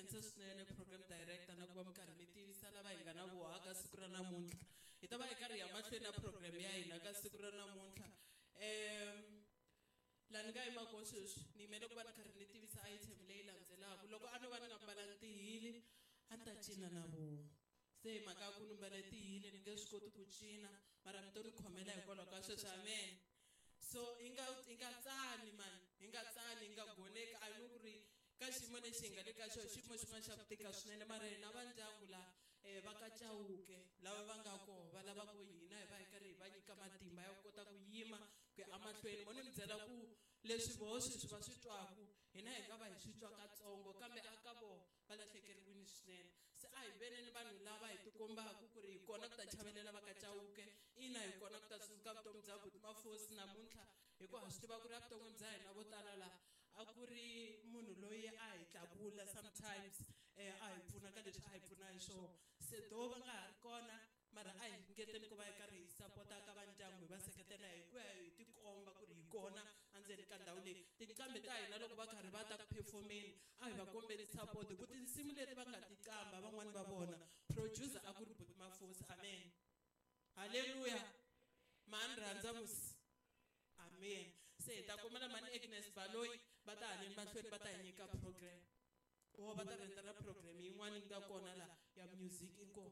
Khensa swinene program director na ku va mi karhi mi tivisa lava hi nga na voha ka siku ra namuntlha. Hi ta va hi karhi hi ya mahlweni na program ya hina ka siku ra namuntlha. Laha ni nga yima kona sweswi ni yimele ku va ni karhi ni tivisa item leyi landzelaka. Loko a no va ni nga mbalanga tihili a ni ta cina na vona. Se hi mhaka ya ku ni mbale tihili ni nge swi koti ku cina mara mi to ni khomela hikwalaho ka sweswo. Amen. So hi nga hi nga tsani mani, hi nga tsani, hi nga goneki a ni ku ri ka xiyimo lexi hi nga le ka xona xiyimo xin'wana xa ku tika swinene mara hina va ndyangu la va ka Chauke lava va nga koho va lava ku hina hi va hi karhi hi va nyika matimba ya ku kota ku yima ku ya emahlweni. Mo ni mi byela ku leswi voho sweswi va swi twaku hina hi nga va hi swi twa katsongo kambe a ka voho va lahlekeriwile swinene. Se a hi veneni vanhu lava hi tikombaka ku ri hi kona ku ta chavelela va ka Chauke, ina hi kona ku ta tsundzuka vutomi bya Buti Mafosi namuntlha hikuva ha swi tiva ku ri evuton'wini bya hina vo tala la a ku ri munhu loyi a hi tlakula sometimes a hi pfuna ka leswi a hi pfuna hi swona. Se do va nga ha ri kona mara a hi ringeteni ku va hi karhi hi sapota ka va ndyangu hi va seketela hi ku ya hi tikomba ku ri hi kona endzeni ka ndhawu leyi. Tinqambi ta hina loko va karhi va ta ku performeni a hi va kombeli support hi ku tinsimu leti va nga ti qamba van'wani va vona producer a ku ri Buti Mafosi. Amen. Hallelujah. Mani rhandza musi. Amen. Se hi ta kombela mani Agnes Baloyi va ta haleni mahlweni va ta hi nyika program. O va ta rhenda na program yin'wana yi nga kona la ya music inkomu.